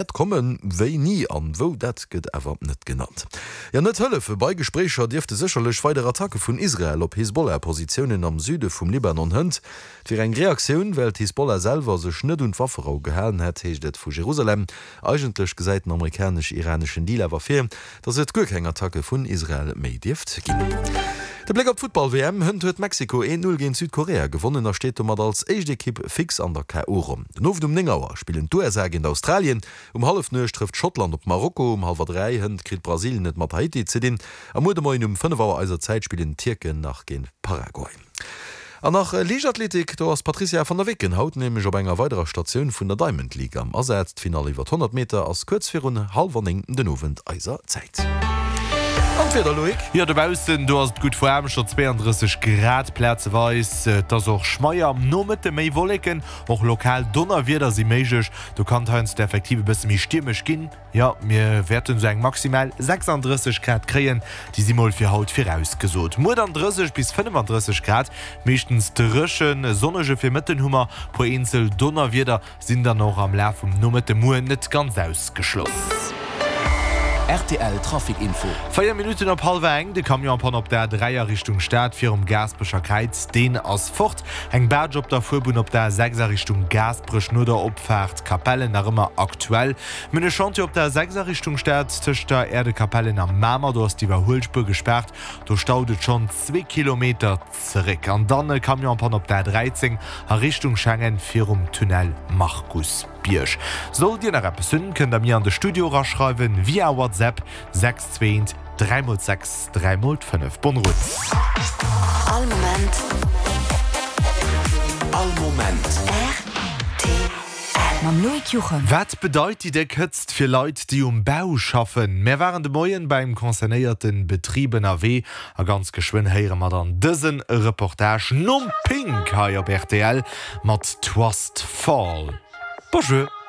Et kommen, wéini an wou, dat gëtt awer net genannt. Jo, net hëllefe bei Gespréicher dierfte sécherlech weider Attacke vun Israel op Hisbollah-Positiounen am Süde vum Libanon hënt. Et wier eng Reaktioun, well d'Hisbollah selwer sech net un d'Wafferou gehalen hätt, heescht et vu Jerusalem. Eigentlech gesäit den amerikanesch-iraneschen Deal awer vir, datt et guer keng Attacke vun Israel méi dierft ginn. De Bléck op d'Futtball-WM, Hënt huet Mexiko 1, 0 géint Südkorea gewonnen a steet domat als éischt Ekipp fix an der KO-Ronn. Den Owend um 9 Auer spillen d'USA géint Australien, um Hallefnuecht trëfft Schottland op Marokko, um hallwer 3 hënt kritt Brasilien et mat Haiti ze dinn a muer de Moien um 5 Auer eiser Zäit spillen d'Tierken nach géint Paraguay. An nach Liichtathletik, do ass d'Patrizia van der Weken haut nämlech op enger weiderer Statioun vun der Diamond League am Asaz. D'Finall iwwer 100 Meter ass kuerz virun hallwer 9 den Owend eiser Zäit. An d'Wieder, Loïc? Jo, dobaussen do ass et gutt waarm, scho 32 Grad plazeweis. Et ass och schmeier, am Nomëtte méi Wolleken, och lokal Donnerwieder si méiglech. Do kann et heiansdo effektiv e bësse méi stiermesch ginn. Jo, mir wäerten esou eng maximal 36 Grad kréien, déi si mol fir haut virausgesot. Muer dann 30 bis 35 Grad, meeschtens dréchen. E sonnege Virmëtten hu mer, puer eenzel Donnerwieder sinn dann och am Laf vum Nomëtte muer net ganz ausgeschloss. Rtl Trafic Info. 4 Minutten op hallwer eng, de Camion en panne op der A3 a Richtung Stad virum Gaasperecher Kräiz, deen ass fort. Eng Baatsch op der Fuerbunn op der A6 a Richtung Gaasperech no der Opfaart Capellen nach ëmmer aktuell. Mir hunn e Chantier op der A6 a Richtung Stad, tëscht der Aerdekapellen a Mamer. Do ass d'Iwwerhuelspuer gespaart. Do staut et schonn zwee Kilometer zeréck. An dann e Camion en panne op der A13 a Richtung Schengen virum Tunnel Markusbierg. Sollt Dir nach eppes hunn, kënnt der mir an de Studio eraschreiwen via WhatsApp 621 3 x 6 3 x 5. Bonne route! All Moment. All Moment. Rtl. Mam Loïc Juchem. Wat bedeit déi déck Hëtzt fir Leit, déi um Bau schaffen? Mär waren de Moien beim concernéierte Betrib ënnerwee a ganz geschwënn héiere mer dann dëse Reportage nom Pink hei op rtl mat Twast Fall. Bonjour.